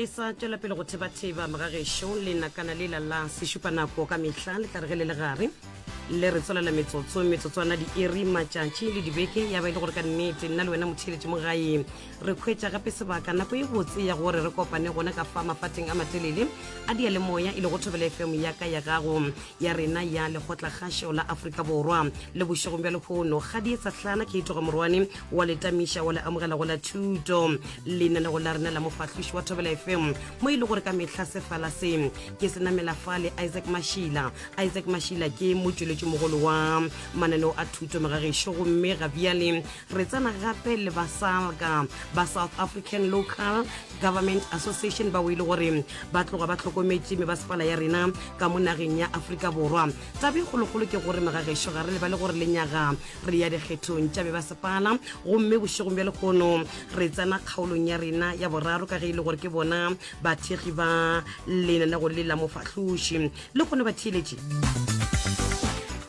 Re sa tšwela pele go thebatheba mogagešo lenakana lela la sešupanako ka mehla le tla re ge le le gare le re tswelela metsotso metsotswana diiri matšatši le dibeke ya ba e le gore ka nnete nna le wena motheeletši mo gae re hwetša gape sebaka nako e botse ya gore re kopane gona ka fa mafateng a matelele a diyalemoya e lego Thobela FM ya ka ya gago ya rena ya Lekgotlakgašo la Afrika Borwa le bošegong bja lehono Kgadietsa Hlana ke itoga morwane wa le tamiša wa le amogela go la thuto lenanego la rena la mofahloši wa Thobela FM mo e le gore ka mehla sefala se ke se namela fa le Isaac Mashila. Isaac Mashila ke motšweletši mogolo wa mananeo a thuto megagešo gomme ga bjale re tsena gape le ba SALGA ba South African Local Government Association bao e le gore ba tloga ba hlokometše mebasepala ya rena ka mo nageng ya Afrika Borwa. Taba e kgolokgolo ke gore megagešo ga re lebale gore lenyaga re ya dikgethong tša mebasepala gomme bošegong bja lehono re tsena kgaolong ya rena ya boraro ka ge e le gore ke bona bathekgi ba lenanego le la mofahloši. Lehono batheeletši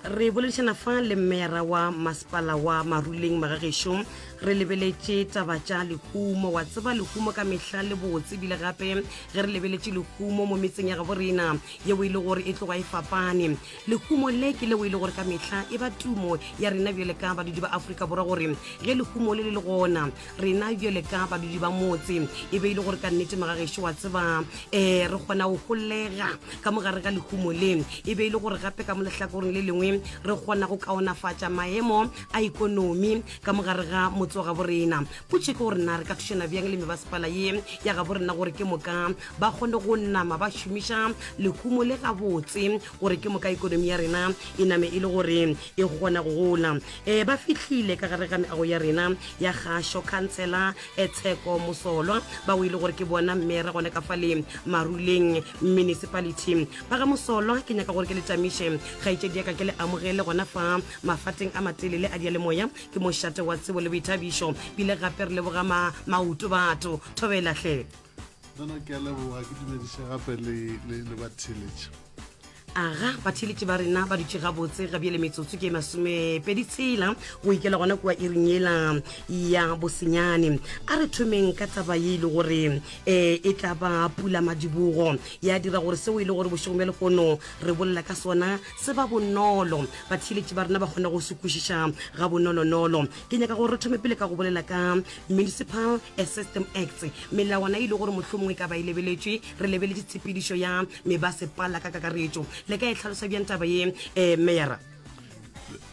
re boledišana fa le mmeyara wa masepala wa Maruleng magagešo Re lebeletše taba tša lehumo. Wa tseba lehumo ka mehla le botse, ebile gape ge re lebeletše lehumo mo metseng ya gabo rena yeo e le gore e tloga e fapane. Lehumo le ke leo e le gore ka mehla e ba tumo ya rena bjale ka badudi ba Afrika Borwa gore ge lehumo le le le gona rena bjale ka badudi ba motse e be e le gore ka nnete magagešo wa tseba um re kgona go holega ka mo gare ga lehumo le e be e le gore gape ka mo lehlakoreng le lengwe re kgona go kaonafatša maemo a ikonomi ka mo gare ga motse wa gabo rena. Potšo ke gore na re ka thušana bjang le mebasepala ye ya gabo rena gore ke moka ba kgone go nama ba šomiša lehumo le gabotse gore ke moka ikonomi ya rena e name e le gore e kgona go gola. E, ba fihlile ka gare ga meago ya rena ya kgašo khansela e Tsheko Mosolwa bao e le gore ke bona mmera gona ka fale Maruleng Municipality. Ba ga Mosolwa ke nyaka gore ke le tamiše kgaetšedi ya ka ke le amogele gona fa Mafateng a matelele a diyalemoya ke mošate wa tsebo le boithabišo. Bile gape re leboga ma, maoto batho. Thobela hle. Nna ke a leboga, ke dumediše gape le, le, le batheeletši. Aga, batheeletši ba rena ba dutše gabotse ga bjale metsotso ke masomepedi tshela go ikela gona kua iring yela ya bosenyane. A re thomeng ka taba ye e le gore um e tla ba pulamadibogo ya dira gore seo e le gore bošegong bja lehono re bolela ka sona se ba bonolo, batheeletši ba rena ba kgone go se kwešiša gabonolonolo. Ke nyaka gore re thome pele ka go bolela ka Municipal System Acts, melawana e le gore mohlomongwe e ka ba e lebeletšwe, re lebeletše tshepedišo ya mebasepala ka kakaretšo. Le ka e hlalosa bjang taba ye, eh, Meyara?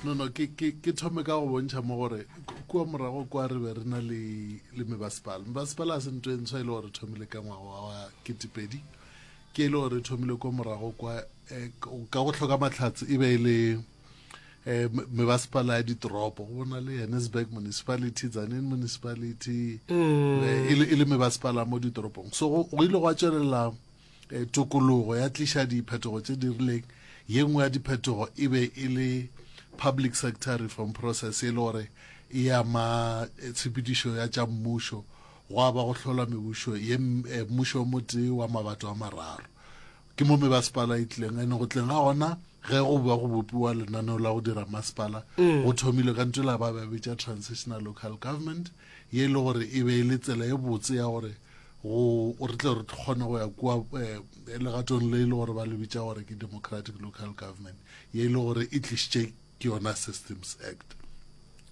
No, no, ke, ke, ke thome ka go bontšha mo gore kua morago kwa re be re na le, le mebasepala. Mebasepala a se nto e ntshwa e le gore re thomile ka ngwaga wa ketepedi. Ke e le gore re thomile kwa morago kwa eh, ka go hloka mahlatse e be e le eh, mebasepala ya ditoropo go bona le Johannesburg municipality Tzaneen municipality mm. eh, e le mebasepala mo ditoropong so go ile gwa tšwelela eh, tokologo ya tliša diphetogo tše di rileng ye nngwe ya diphetogo e be e le public sector reform process e le gore e ama eh, tshepedišo ya tša mmušo gwa ba go hlola mebušo ye mmušo o motee wa mabato a mararo Ke mo mebasepala e tlileng, ene go tleng ga gona ge go ba go bopiwa lenaneo la go dira masepala, mm. go thomile ka ntho la ba ba bitša transitional local government, ye e le gore e be e le tsela e botse ya gore go re tle re kgone go ya kua eh, legatong le e le gore ba le bitša gore ke democratic local government, ye e le gore e tlišitše ke yona Systems Act.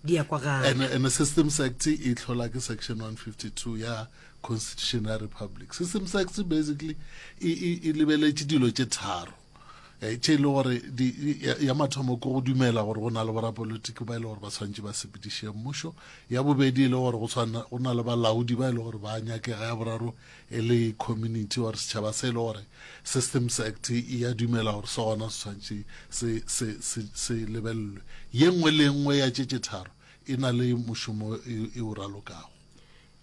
Di a kwagala. And, and the Systems Act e hlola ke section 152 ya Constitution ya Republic. Systems Act basically e, e, e lebeletše dilo tše tharo eh, tše e le gore ya mathomo ke go dumela gore go na le borapolitiki ba e le gore ba tshwanetse ba sepediše mmušo ya bobedi e le gore go tshwana go na le balaodi ba e le gore ba nyakega ya boraro e le community or setšhaba se e le gore Systems Act e a dumela gore se gona se tshwanetse se, se, se, se lebelelwe. Ye nngwe le nngwe ya tše tše tharo e na le mošomo e, e o ralokago.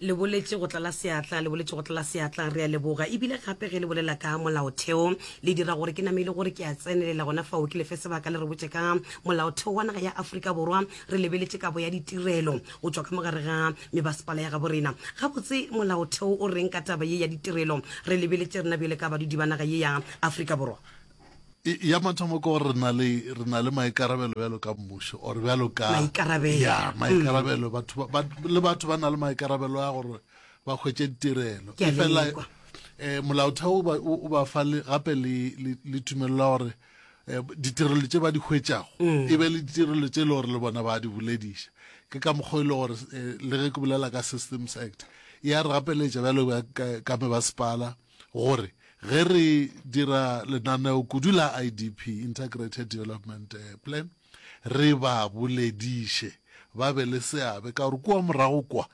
Le boletše go tlala seatla, le boletše go tlala seatla, re a leboga. Ebile gape ge le bolela ka molaotheo, le dira gore ke name e le gore ke a tsenelela gona fao, ke le fe sebaka le re botše ka molaotheo wa naga ya Afrika Borwa, re lebeletše kabo ya ditirelo go tšwa ka mo gare ga mebasepala ya gabo rena. Gabotse molaotheo o reng ka taba ye ya ditirelo re lebeletše rena bjale ka badudi ba naga ye ya Afrika Borwa? Ya mathomo ke gore re na le re na le maikarabelo bjalo ka mmušo or bjalo ka maikarabelo ya maikarabelo batho ba, le batho ba na le maikarabelo a gore ba hwetše ditirelo. Ke a Efela lekwa. Um molaotheo o ba fa gape le tumelelo ya gore um ditirelo tše ba di hwetšago mm. e be le ditirelo tše e le gore le bona ba di bolediša. Ke ka mokgwa e le gore eh, le ge ke bolela ka Systems Act ya re gapeletša bjalo ka mebasepala gore ge re dira lenaneo kudu la IDP, Integrated Development eh, Plan, re ba bolediše ba be le seabe ka gore kua morago kwa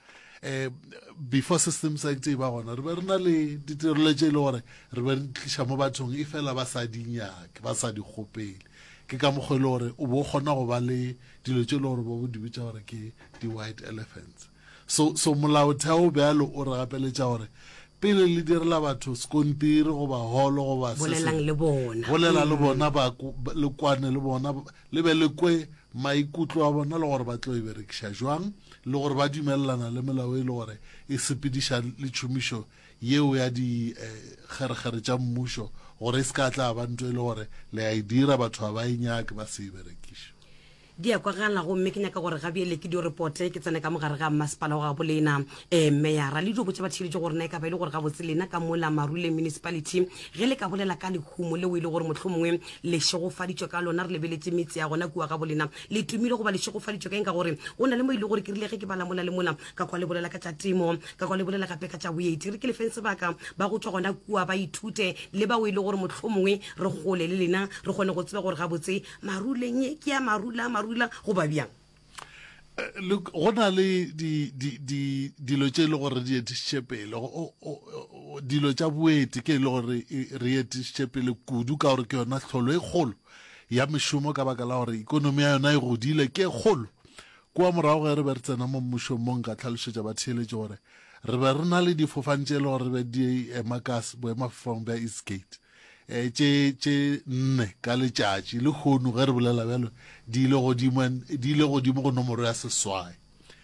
um before Systems Act e ba gona re be re na le ditirelo tše e le gore re be re di tliša mo bathong e fela ba sa di nyake ba sa di kgopele. Ke ka mokgwa e le gore o bo o kgona go ba le dilo tše e le gore bo di bitša gore ke di-white elephants. So, so molaotheo bjalo o re gapeletša gore pele le direla batho sekontiri goba holo goba se Bolelang sengwe, le bona. bolela le bona, ba, le kwane le bona, le be le kwe maikutlo a bona le gore ba tlo e berekiša jwang, le gore ba dumelelana le melao e le gore e sepediša le tšhomišo yeo ya dikgerekgere tša mmušo, gore e se ka tla ba nto e le gore le a e dira batho ga ba e nyake ba se e berekiše. Di a kwagala gomme ke nyaka gore gabjele ke dio repote ke tsene ka mogare ga mmasepala wa gabo lena um meyara le dio botša batheeletši gore na e ka ba e le gore gabotse lena ka mola Maruleng Municipality ge le ka bolela ka lehumo leo e le gore mohlomongwe le šegofaditšwe ka lona re lebeletše metse ya gona kua gabo lena le tumile goba le šegofaditšwe ka eng ka gore go na le mo e le gore ke rile ge ke bala mola le mola ka kwa le bolela ka tša temo ka kwa le bolela gape ka tša boeti re ke lefeng sebaka ba go tšwa gona kua ba ithute le bao e le gore mohlomongwe re gole le lena re kgone go tseba gore gabotse Maruleng ye ke ya marula marula goba bjang? Eh, look, go na le di, di, di, dilo tše e le gore re di etišitše pele. Dilo tša boeti ke e le gore re etišitše pele kudu ka gore ke yona tlholo e kgolo ya mešomo ka baka la gore ikonomi ya yona e godile, ke e kgolo. Kua morago ge re be re tsena mo mmušong mo nka tlhalošetša batheeletši gore re be re na le difofane tše e le gore re be di ema ka boemafofane bja Eastgate. Eh, tše tše nne ka letšatši lehono ge re bolela bjalo di ile godimo di ile godimo go nomoro ya seswai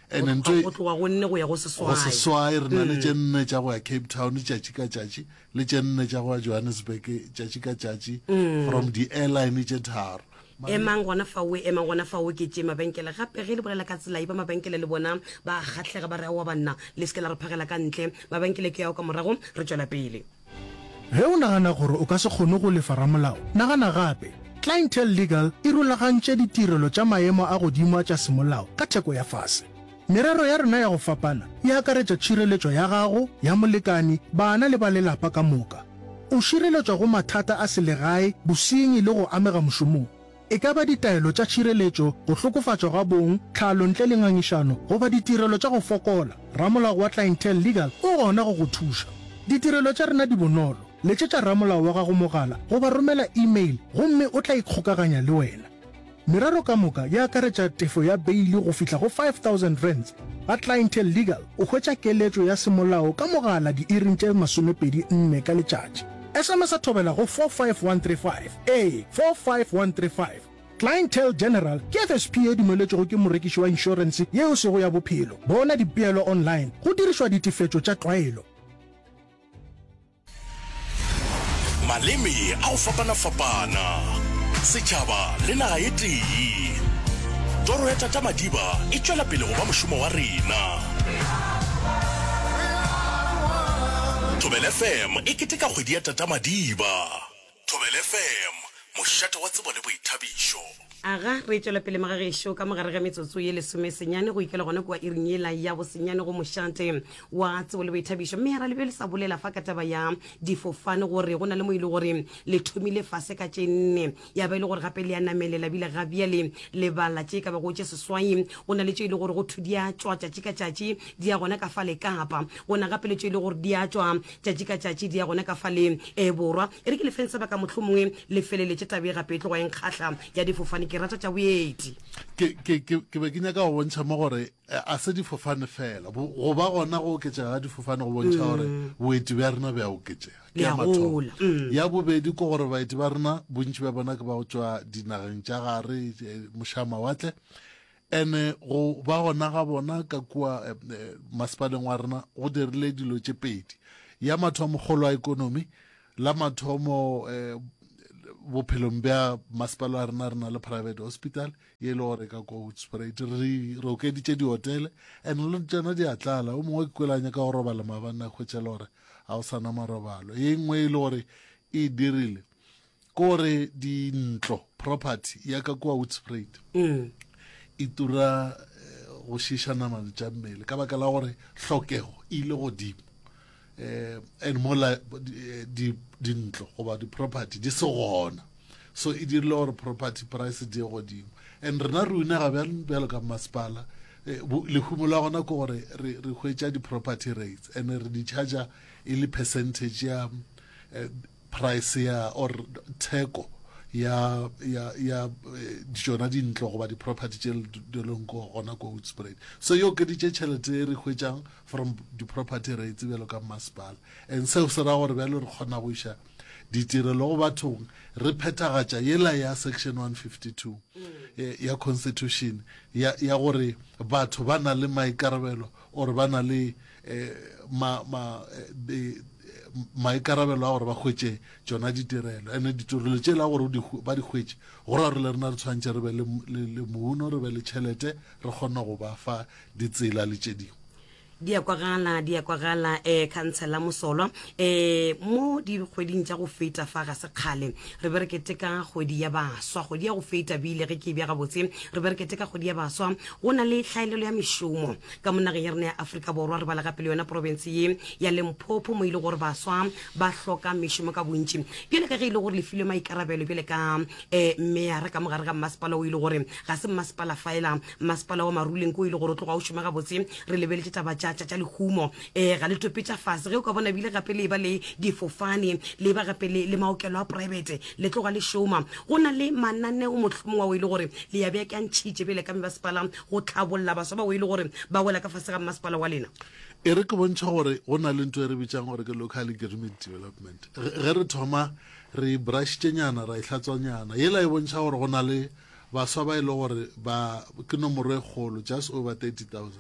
and ntho e go tloga go nne go ya go seswai go seswai re na le mm. tše nne tša go ya Cape Town tšatši ka tšatši le tše nne tša go ya Johannesburg tšatši ka tšatši mm. from di airline tše tharo Emang gona fao, emang gona fao, ke tše mabenkele gape. Ge le bolela ka tsela ye, ba mabenkele le bona ba kgahlega, ba re, Aowa banna, le se ke la re phagela ka ntle. Mabenkele ke ao ka morago, re tšwela pele. Ge o nagana gore o ka se kgone go lefa ramolao, nagana gape. Clientele Legal e rulagantše ditirelo tša maemo a godimo a tša semolao ka theko ya fase. Merero ya rena ya go fapana e akaretša tšhireletšo ya gago, ya molekani, bana le ba lelapa ka moka. O šireletšwa go mathata a selegae, bosenyi le go amega mošomong. E ka ba ditaelo tša tšhireletšo, go hlokofatšwa ga bong, tlhalo ntle le ngangišano, goba ditirelo tša go fokola, ramolao wa Clientele Legal o gona go go thuša. Ditirelo tša rena di bonolo, letšetša ramolao wa gago mogala goba romela e-mail gomme o tla ikgokaganya le wena. Merero ka moka e akaretša tefo ya beili go fihla go R5000. Ga Clientele Legal o hwetša keletšo ya semolao ka mogala diiring tše 24 ka letšatši. SMS-a thobela go 45135. Ee, 45135. Clientele General ke FSP ye dumeletšwego ke morekiši wa inšorense ye e sego ya bophelo. Bona dipeelo online go dirišwa ditefetšo tša tlwaelo. Maleme a go fapana-fapana, setšhaba le naga e tee. Toro ya Tata Madiba e tšwela pele go ba mošomo wa rena. Thobela FM e keteka kgwedi ya Tata Madiba. Thobela FM, mošate wa tsebo le boithabišo. Aga, re tšwela pele magagešo ka mogare ga metsotso ye lesomesenyane go ikela gona kua iring yela ya bosenyane go mošate wa tsebo le boithabišo. Mme ra le be le sa bolela fa ka taba ya difofane gore go na le mo e le gore le thomile fase ka tše nne ya ba e le gore gape le a namelela bile ga bjale le bala tše ka bago tše seswai. Go na le tše e le gore go thwe di a tšwa tšatši ka tšatši di ya gona ka fa le Kapa. Go na gape le tše e le gore di a tšwa tšatši ka tšatši di ya gona ka fa le e Borwa. E re ke le feng sebaka mohlomongwe le feleletše taba ye gape e tloga e nkgahla ya difofane. Ke rata tša boeti. Ke, ke, ke, ke be ke nyaka go bontšha mo gore eh, a se difofane fela. Bo, go ba gona go oketšega ga difofane go bontšha gore boeti bja rena bja oketšega. Ke ya mathomo. gola. Mm. Ya bobedi ke gore baeti ba rena bontši bja bona ke ba go tšwa dinageng tša gare eh, mošamawatle. Ene go ba gona ga bona ka kua eh, eh, masepaleng wa rena go dirile dilo tše pedi. Ya mathomo kgolo ya ekonomi, la mathomo eh, Bophelong bja masepala wa rena re na le private hospital ye e le gore ka ko Hoedspruit. Re re okeditše dihotele and le tšona di a tlala. O mongwe ke kwele a nyaka go robala maabane a hwetša le gore ga o sa na marobalo. Ye nngwe e le gore e dirile ke gore dintlo property ya ka kua Hoedspruit e tura go šiša namane tša mmele ka baka la gore hlokego e ile godimo. eh and mola di dintlo goba di-property di se gona so e dirile gore property price di ye godimo and rena re unega bjang bjalo ka masepala eh, lehumo la gona ke gore re re hwetša di-property rates and re di charger e le percentage ya eh, price ya or theko ya ya ya eh, tšona dintlo goba di-property tše di leng ko gona ko Hoedspruit so e okeditše tšhelete e re hwetšang from di-property rates bjalo ka masepala and seo se ra gore bjalo re kgona go iša ditirelo go bathong re phethagatša yela ya section 152 eh, ya constitution ya, ya gore batho ba na le maikarabelo or ba na le eh, ma, ma, eh, maikarabelo a gore ba hwetše tšona ditirelo ene ditirelo tše la gore ba di hwetše go ra gore le rena re tshwanetse re be le, le, le mouno re be le tšhelete re kgone go ba fa ditsela le tše dingwe. Di a kwagala, di a kwagala, eh, Khansela Mosolwa. Eh, mo dikgweding tša go feta fa ga se kgale re be re keteka kgwedi ya baswa, kgwedi ya go feta bile ge ke e bja gabotse, re be re keteka kgwedi ya baswa. Go na le tlhaelelo ya mešomo ka mo nageng ya rena ya Afrika Borwa, re bala gape le yona profense ye ya Limpopo mo e le gore baswa ba hloka mešomo ka bontši. Bjale ka ge e le gore le filwe maikarabelo bjale ka eh, meyara ka mo gare ga mmasepala o e le gore ga se mmasepala fela, Mmasepala wa Maruleng ko e le gore o tloga o šoma gabotse. Re lebeletše taba tša, tša, tša lehumo. E, ga le tope tša fase. Ge o ka bona bile gape le eba le difofane, le eba gape le, le maokelo a praebete, le tloga le šoma. Go na le mananeo mohlomongwe ao e le gore le ya beakantšhitše bjale ka mebasepala go tlhabolla baswa bao e le gore ba wela ka fase ga mmasepala wa lena. E re ke bontšhe gore go na le ntho e re bitšang gore ke local agreement development. Ge re thoma re e brushitšenyana ra e hlatswanyana, yela e bontšha gore go na le Baswa ba e le gore ba ke nomoro e kgolo, just over 30,000,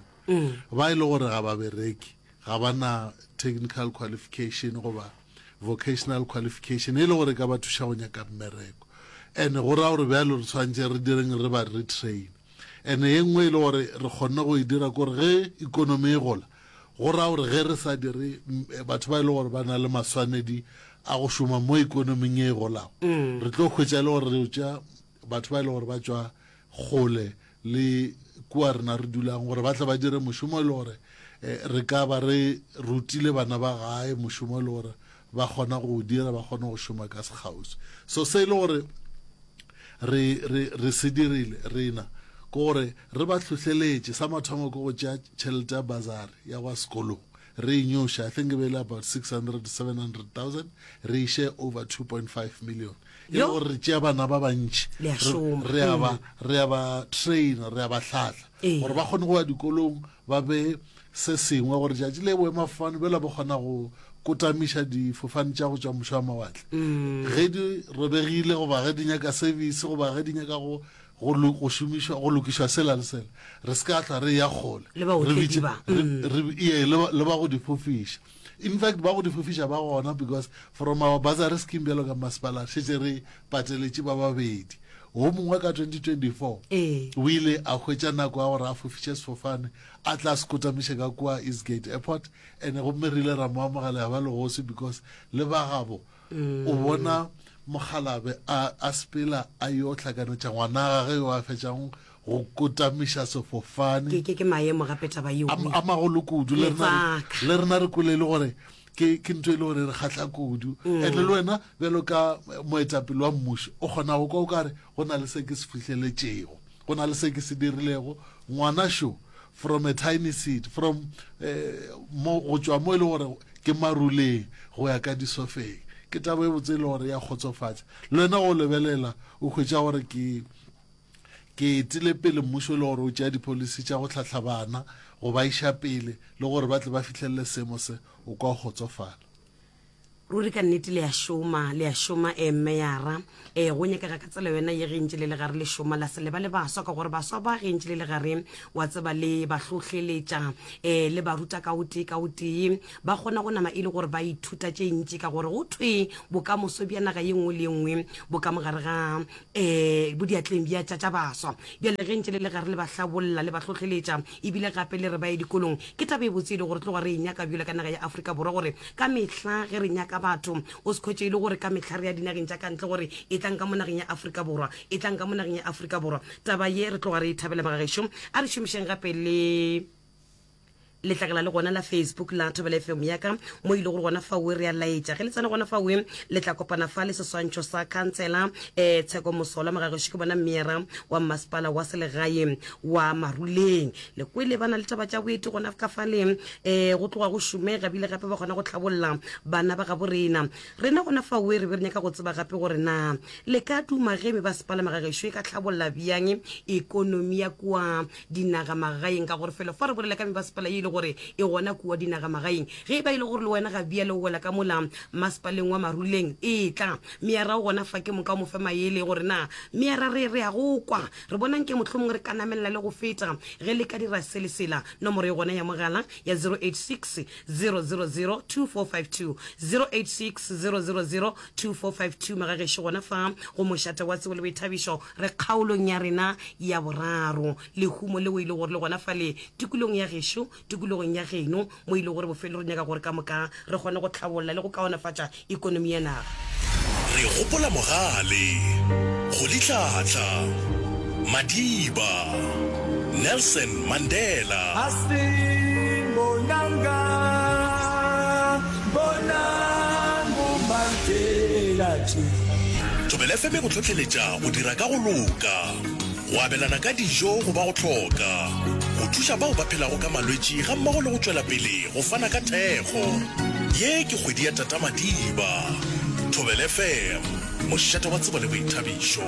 ba e le gore ga ba bereke, ga ba na technical qualification goba vocational qualification e le gore e ka ba thuša go nyaka mmereko. And go ra gore bjalo re tshwanetse re direng re ba retrain. And ye nngwe e le gore re kgonne go e dira kore ge economy e gola, go ra gore ge re sa dire batho ba e le gore ba na le maswanedi a go šoma mo ekonoming e golago, re tlo hwetša e le gore re tšea batho ba e le gore ba tšwa kgole le kua rena re dulang gore ba tle ba dire mošomo e le gore eh, re ka ba re rutile bana ba gae mošomo e le gore ba kgona go o dira ba kgone go šoma ka sekgauswi so se e le gore re, re, re se dirile rena ke gore re ba hlohleletše sa mathomo ke go tšea tšhelete ya bazari ya go ya sekolong re e nyoše i think e be e le about 600 to 700,000 re iše over 2.5 million e le gore re tšea bana ba bantši re a ba re a ba train re a ba hlahla gore ba kgone go ya dikolong ba be se sengwe gore tšatši le boemafofane bjela ba kgona go kotamiša difofane tša go tšwa mošo wa mawatle mm. ge di robegile goba ge di nyaka service goba ge di nyaka go go šomišwa go lokišwa sela le sela re se ka tla re ya kgole le ba mm. le ba go di fofiša In fact, ba go di fofiša ba gona because from our bursary scheme bjalo ka masepala šetše re pateletše ba babedi. Wo mongwe ka 2024 Ee. o ile a hwetša nako ya gore a fofiše sefofane a tla se kotamiše ka kua Eastgate Airport and gomme re ile ra mo amogela ya ba legosi because le ba gabo o bona mokgalabe a a sepela a yo hlakanetša ngwana gage yo a fetšang go kotamiša sefofane. Ke, ke, ke maemo gape taba yeo. A, a magolo kudu. Le rena, le rena re kwele e le gore ke, ke ntho e le gore re kgahla kudu. Mm. And le wena bjalo ka moetapele wa mmušo o kgona go kwa o kare go na le se ke se fihleletšego, go na le se ke se dirilego. Ngwana šo from a tiny seed, from eh, mo, go tšwa mo e le gore ke maruleng go ya ka disofeng. Ke taba e botse e le gore ya kgotsofatša. Le wena go lebelela o hwetša gore ke Ke etile pele mmušo e le gore o tšea dipholisi tša go hlahla bana go ba iša pele le gore ba tle ba fihlelele seemo se, o kwa o kgotsofala. Ruri ka nnete le a šoma, le a šoma, ee, Meyara. Ee, go nyakega ka tsela yona ye ge ntše le le gare le šoma, la se lebale baswa, ka gore baswa ba ge ntše le le gare, wa tseba, le ba hlohleletša, ee, le ba ruta ka o tee ka o tee, ba kgona go nama e le gore ba ithuta tše ntši, ka gore go thwe bokamoso bja naga ye nngwe le ye nngwe bo ka mo gare ga, ee, bo diatleng bja tša, tša baswa. Bjale ge ntše le le gare le ba hlabolla, le ba hlohleletša, ebile gape le re ba ye dikolong, ke taba e botse e le gore tloga re e nyaka bjalo ka naga ya Afrika Borwa gore ka mehla ge re nyaka batho o se khwetše e le gore ka mehla re ya dinageng tša ka ntle gore e tlang ka mo nageng ya Afrika Borwa, e tlang ka mo nageng ya Afrika Borwa. Taba ye re tloga re e thabela magagešo. A re šomišeng gape le letlakala le gona la Facebook la Thobela FM ya ka mo ile gore gona fawe re a laetša ge le tsena gona fawe le tla kopana fa le seswantšho sa khansela eh Tsheko Mosola magagešo ke bona mmeara wa mmasepala wa selegae wa Maruleng le kwele ba na le taba tša boeti gona ka fale um go tloga go šomega bile gape ba kgona go tlhabolla bana ba gabo rena. Rena gona faoe re be re nyaka go tseba gape gore na le ka duma ge mebasepala magagešo e ka tlhabolla bjang ekonomi ya kua dinagamagaeng, ka gore felo fa re bolela ka mebasepala ye e le gore e gona kua dinagamagaeng. Ge e ba e le gore le wena ga bjale o wela ka mola masepaleng wa Maruleng, etla meara o gona fa ke moka o mo fe maele gore na meara re re ya go kwa Re bona nke mohlomongwe re ka namelela le go feta ge le ka dira se le sela. Nomoro e gona ya mogala ya 086 000 2452, 086 000 2452. Magagešo gona fa go mošate wa tsebo le boithabišo, re kgaolong ya rena ya boraro. Lehumo leo e le gore le gona fale tikolong ya gešo, tikologong ya geno, mo e lego gore bofelo re nyaka gore ka moka re kgone go hlabolla le go kaonafatša ekonomi ya naga. Re gopola Mogale, Rolihlahla, Madiba, Nelson Mandela. Thobela FM e go hlohleletša go dira ka go loka. Go abelana ka dijo go ba go hloka, go thuša bao ba phelago ka malwetši gammogo le go tšwela pele go fana ka thekgo. Ye ke kgwedi ya Tata Madiba. Thobela FM, mošate wa tsebo le boithabišo.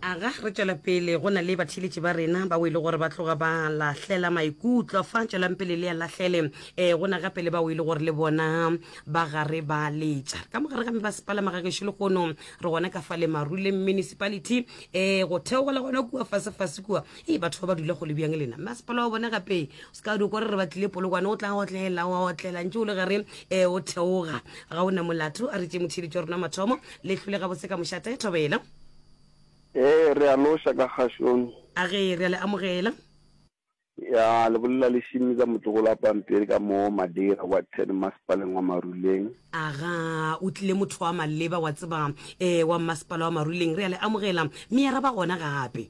Aga, re tšwela pele go na le batheeletši ba rena bao e le gore ba tloga ba lahlela maikutlo fa. Tšwelang pele le a lahlele. E, go na gape le bao e le gore le bona ba gare ba letša. Ka mogare ga mebasepala magagešo lehono re gona ka fa le Maruleng Municipality, e, go theogela gona kua fasefase kua. E, batho ba ba dula go le bjang lena? Masepala wa bona gape o se ka dikwa re re batlile Polokwane, o tla otlela, wa otlela ntše o le gare, e, o theoga. Ga o na molato. A re tšee motheeletši wa rona mathomo. Le hlole gabotse ka mošate, Thobela. Ee, re a loša ka kgašong. A ge, re a le amogela. Ya, le bolela le Šimiza motlogolo wa pampiri ka mo Madeira Ward 10 masepaleng wa Maruleng. Aga, o tlile motho wa maleba wa tseba eh, wa masepala wa Maruleng. Re a le amogela. Meyara ba gona gape.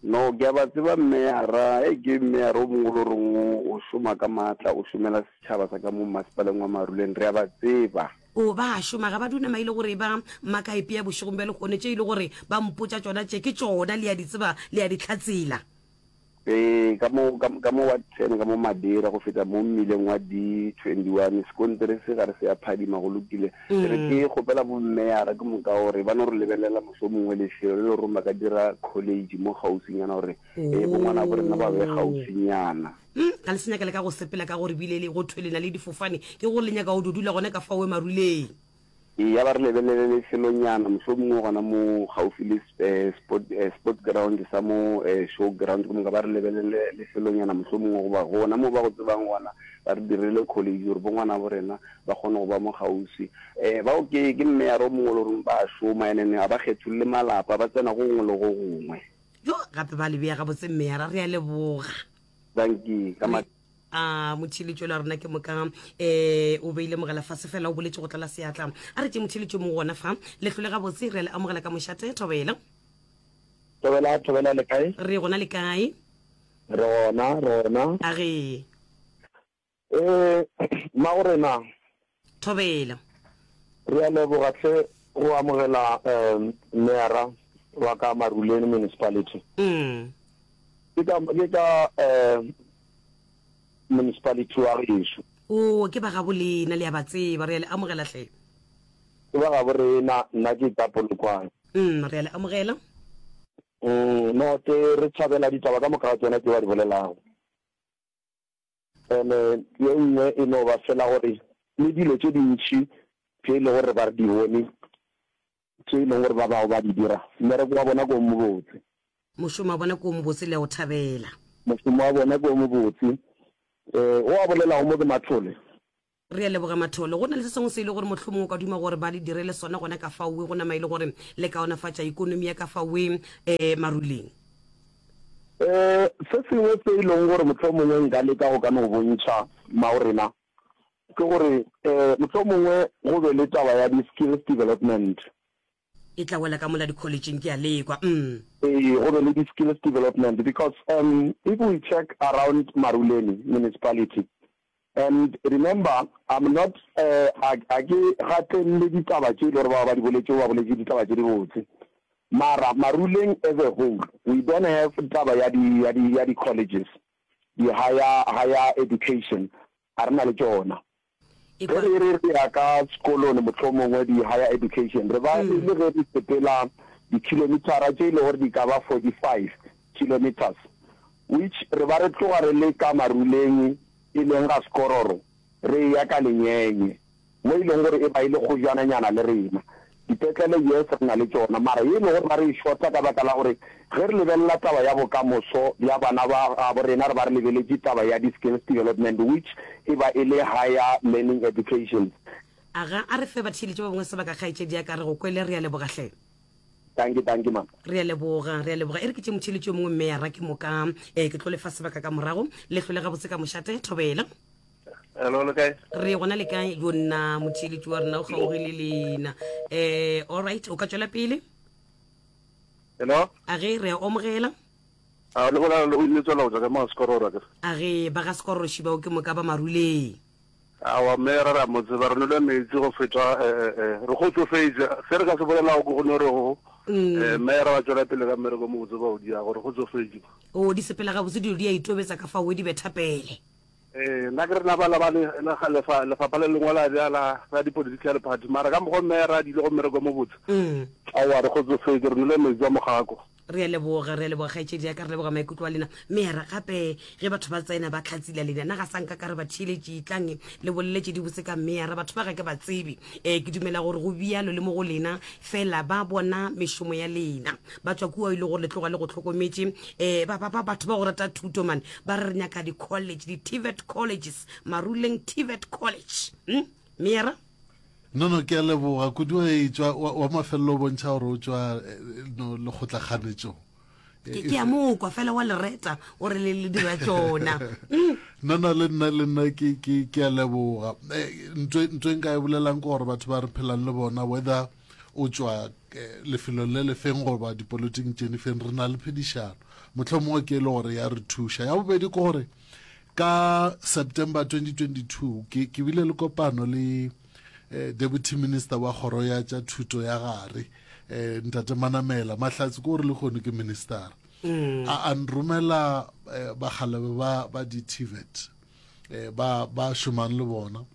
No, ke a ba tseba meyara. Hei, ke meyara o mongwe o le goreng o, o šoma ka maatla, o šomela setšhaba sa ka mo masepaleng wa Maruleng. Re a ba tseba. O, ba a šoma, ga ba dune maile gore ba maka epea bošegong bja lehono. Tše e le gore ba mpotša tšona tše, ke tšona, le a di tseba, le a di hlatsela. Ee, ka mo, ka, ka mo Ward 10, ka mo Madeira, go feta mo mmileng wa D21, sekontiri se gare se a phadima, go lokile. Ke re ke kgopela bommeyara ke moka gore ba no re lebelela mohlomongwe lefelo le le goreng ba ka dira college mo kgauswinyana gore ee, bongwana bo rena ba be kgauswinyana. Mm, ga le se nyaka le ka go sepela ka gore bile le go thwe le na le difofane, ke gore le nyaka go do dula gona ka faowe maruleng. Eya, ba re lebelele lefelonyana, mohlomongwe gona mo gaufi le sport, sport ground sa mo show ground, ke moka ba re lebelele lefelonyana mohlomongwe goba gona mo ba go tsebang gona, ba re direle college gore bo ngwanabo rena ba kgone go ba mo kgauswi. Bao ke, ke mmeyara o mongwe o le goreng ba a šoma, and then ga ba kgetholle malapa, ba tsena go gongwe le go gongwe. Jo, gape ba le bea gabotse mmeyara, re a leboga. Dankie, ka ma. A motheeletši yola wa rena ke moka um o beile mogala fase fela o boletše go tlala seatla. A re tše motheeletši o mongwe gona fa. Le hlole gabotse, re a le amogela ka mošate. Thobela. Thobela, Thobela le kae? Re gona le kae? Re gona, re gona. A ge. Eh, mmago rena. Thobela. Re a leboga hle go amogela um meyara wa ka Maruleng Municipality. Mm. Ke ka ke ka um municipality wa gešo. Oo, ke ba gabo lena, le a ba tseba. Re a le amogela hle. Ke ba gabo rena, nna ke ka Polokwane. Mm, re a le amogela. Mm, no, ke re thabela ditaba ka moka ga tsona tše ba di bolelago. Ene ye nngwe e no ba fela gore le dilo tše dintši tše e lego gore ba re di bone, tše e leng gore ba bangwe ba di dira. Mmereko wa bona ke o mobotse. Mošomo wa bona ke o mobotse, le a o thabela. Mošomo wa bona ke o mobotse. Eh, o a bolelago mo ke Mathole. Re a leboga Mathole. Go na le se sengwe se e le gore mohlomongwe o ka duma gore ba le direle sona gona ka faowe, go nama e le gore le kaonafatša ikonomi ya ka faowe eh, Maruleng? Eh, se sengwe se e leng gore mohlomongwe nka leka go ka no bontšha mmago rena ke gore eh, mohlomongwe go be le taba ya di-skills development. E tla wela ka mola dikholetšeng, ke a lekwa. Mm. Ee, go be le di-skills development because um, if we check around Maruleni municipality, And remember, I'm not, eh, a, a ke gatelele ditaba tše e le gore bao ba di boletšego ba boletše ditaba tše dibotse. Mara Maruleng as a whole, we don't have taba ya di, ya di, ya di colleges, di higher, higher education, ga re na le tšona. E Ge kwa. re re re ya ka sekolong mohlomongwe di higher education, re ba e le ge re sepela di-kilometer tše e le gore di ka ba 45 kilometres, which re ba re tloga re le ka Maruleng e leng ga Sekororo re eya ka Lenyenye mo e leng gore e ba e le kgojananyana le rena. Dipetlele yes re na le tšona mara ye e lego gore ba re e shota ka baka la gore ge re lebelela taba ya bokamoso bja bana ba gabo rena re ba re lebeletše taba ya di-skills development which e ba e le higher learning educations. Aga, a re fe batheeletši ba bangwe sebaka kgaetšedi ya ka, re go kwele, re a leboga hle. Dankie, dankie mama. Re a leboga, re a leboga. E re ke tše motheeletši yo mongwe mme ya ra ke moka eh, ke tlo lefa sebaka ka morago. Le hlole gabotse ka mošate, thobela. Hello, le kae? Re gona le kae? Yo nna motheeletši wa rena o kgaogile lena. Eh, all right, o ka tšwela pele. Hello? A ge re a omogela. A le bolela le le tswela go tswa ka mo Sekororo ke. A ge ba ga Sekororo šibao ke moka ba Maruleng. Aowa mme re ra mo tseba, re nwele meetse go feta re kgotsofetše. Se re ka se bolelago ke go no re go mme re ba tšwela pele ka mmereko o mobotse ba o diago, re kgotsofetše. O di sepela gabotse dilo di a itobetsa ka fao di betha pele. Ee, nna ke re na ba lebane lefa, lefapha le lengwe la bja la, la di-political party, mara ka mokgwa mme re a diile go mmereko o mobotse. Aowa re kgotsofetše, re nwele meetse a mogako. Re a leboga, re a leboga kgaetšedi ya ka, re leboga maikutlo a lena. Mera, gape ge batho ba tsena ba tlhatsila lena, na ga sa nka ka re ba theeletše, etlang le bolele tše dibotse ka mera, batho ba ga ke ba tsebe. E, ke dumela gore go bjalo le mo go lena, fela ba bona mešomo ya lena. Ba tšwa kua e le gore le tloga le go hlokometše. E, ba, ba, ba, batho ba go rata thuto man, ba re re nyaka di-college, di-TVET colleges, Maruleng TVET College. Hm? Mera? No, no, ke a leboga kudu ge e tšwa wa, wa mafelelo o bontšha gore o tšwa eh, no lekgotlakganetšong. Ke, ke a mo kwa fela wa lereta o re le le dira tšona. Mm. No, no, le nna, le nna ke, ke, ke a leboga. Eh, ntho, ntho e nka e bolelang ke gore batho ba re phelang le bona, whether o tšwa eh, lefelong le lefeng goba dipolotiking tše difeng, re na le phedišano. Mohlomongwe ke e le gore ya re thuša. Ya bobedi ke gore Ka September 2022, ke, ke bile le kopano le eh, Deputy Minister wa Kgoro ya tša Thuto ya Gare, eh, Ntate Manamela. Mahlatse ke gore lehono ke minister. Mm. A, a nromela eh, bakgalebe ba, ba di-TVET eh, ba, ba šomang le bona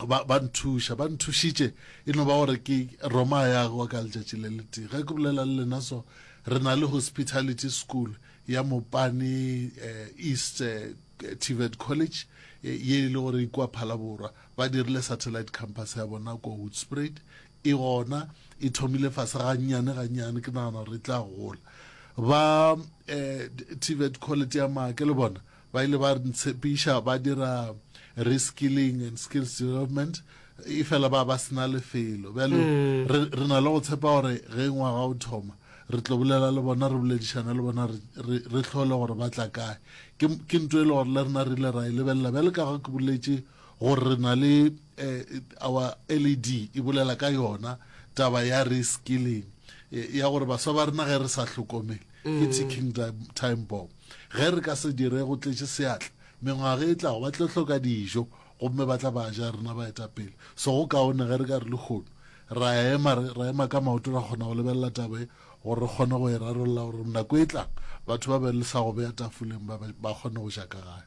ba, ba nthuša ba nthušitše e no ba gore ke roma ya wa ka letšatši le letee ge ke bolela le lena so re na le hospitality school ya Mopane East TVET College ye e le gore e kua Phalaborwa. Ba dirile satellite campus ya bona kua Hoedspruit. E gona, e thomile fase gannyane gannyane, ke nagana gore e tla gola. Ba TVET College ya Maake le bona ba ile ba ntshepiša ba dira reskilling and skills development e fela ba ba sena lefelo. Bjale re, re na le go tshepa gore ge ngwaga o thoma re tlo bolela le bona, re boledišane le bona, re, re, re hlole gore ba tla kae. Ke, ke ntho e le gore le rena re ile ra e lebelela. Bjale ka ga ke boletše gore re na le eh, our LED e bolela ka yona taba ya reskilling eh, ya gore baswa ba rena ge re sa hlokomele ke ticking time bomb. Ge re ka se dire go tletše seatla, mengwaga e tlago ba tlo hloka dijo gomme ba tla ba ja rena baetapele. So go kaone ge re ka re lehono ra ema, ra ema ka maoto ra kgona go lebelela taba e gore re kgone go e rarolla gore nako e tlang batho ba be le sa go bea tafoleng ba, ba kgone go ja ka gae.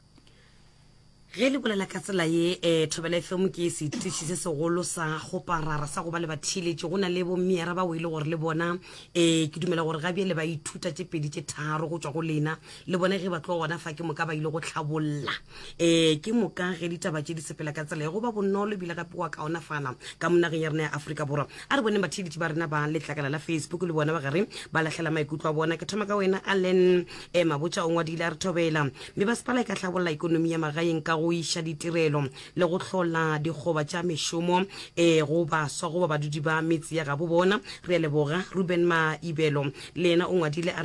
Ge le bolela ka tsela ye, eh, Thobela FM ke setiši se segolo sa go parara sa go ba le batheeletši. Go na le bommeara bao e le gore le bona, eh, ke dumela gore ga bjale ba ithuta tše pedi tše tharo go tšwa go lena. Le bona ge ba tloga gona fa ke moka ba ile go hlabolla. Eh, ke moka ge ditaba tše di sepela ka tsela ye go ba bonolo ebile gape go a kaonafala ka mo nageng ya rena ya Afrika Borwa. A re boneng batheeletši ba rena ba letlakala la Facebook le bona ba gare ba lahlela maikutlo a bona. Ke thoma ka wena Allen. E Mabotja o ngwadile a re thobela. Mebasepala e ka hlabolla ikonomi ya magaeng ka go iša ditirelo le go hlola dikgoba tša mešomo e go baswa goba badudi ba metse ya gabo bona. Re a leboga. Ruben Maibelo le yena o ngwadile a re.